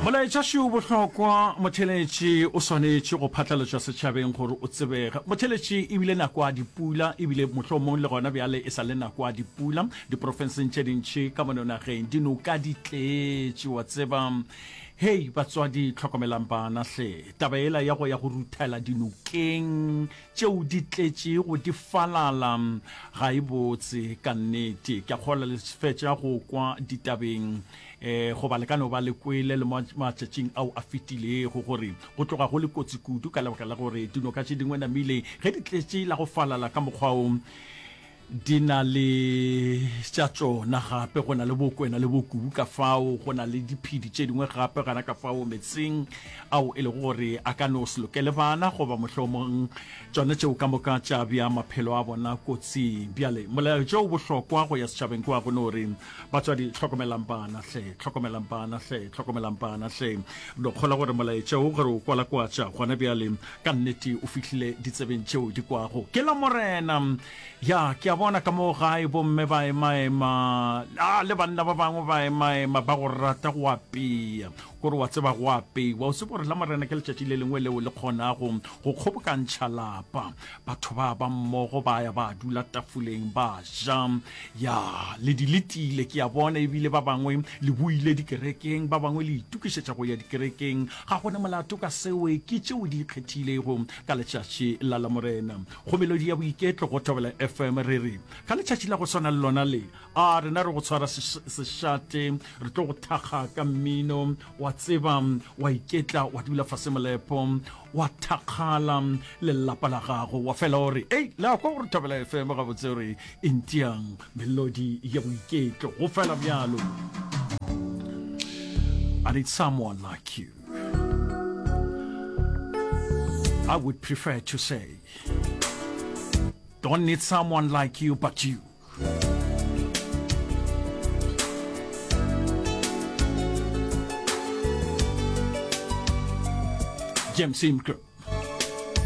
Molaetša šo o bohlokwa, motheletši o swanetše go phatlalatšwa setšhabeng gore o tsebege. Motheletši e bile nako ya dipula, ebile mohlomong le gona bjale e sa le nako ya dipula diprofenseng tše dintši ka mono nageng. Dinoka di tletše, wa tseba. Hei batswadi, hlokomelang bana hle. Taba yela ya go ya go ruthela dinokeng tšeo di tletšego di falala ga e botse ka nnete. Ke a kgolwa le fetša go kwa ditabeng um goba le ka no ba le kwele le matšatšing ao a fetilego gore go tloga go le kotsi kudu ka lebaka la gore dinoka tše dingwe namile ge di tletše la go falala ka mokgwa o di na le tša tšona gape go na le bokwena le bokubu ka fao go na le diphedi tše dingwe gape gana ka fao metseng ao e lego gore a ka no se lokele bana goba mohlomong tšona tšeo ka moka tša bja maphelo a bona kotsing. Bjale molaetša o bohlokwa go ya setšhabeng ke wa go no re batswadi hlokomelang bana hle, hlokomelang bana hle, hlokomelang bana hle. No kgola gore molaetša o gore o kwalakwatša gona bjale ka nnete o fihlile ditsebeng tšeo di kwago ke la Morena. Ya, ke a bona ka mo gae bomme ba emaema, a le banna ba bangwe ba emaema ba go rata go apea. Kore wa tseba go apeiwa, o tsebe gore la Morena ke letšatši le lengwe leo le kgonago go kgobokantšha lapa. Batho ba ba mmogo ba ya ba dula tafoleng ba ja. Ya, le di letile, ke a bona, ebile ba bangwe le boile dikerekeng, ba bangwe le itokišetša go ya dikerekeng. Ga go na molato ka seo, ke tšeo di ikgethilego ka letšatši la Lamorena. Go Melodi ya Boiketlo go Thobela FM re re, ka letšatši la go swana le lona le, a rena re go tshwara sešate, re tlo go thakga ka mmino, wa tseba, wa iketla, wa dula fase molepo, wa thakgala le lelapa la gago, wa fela o re, Ei, le a kwa gore Thobela FM gabotse o re e ntiang melodi ya boiketlo, go fela bjalo. I need someone like you. I would prefer to say, don't need someone like you but you. James Ingram.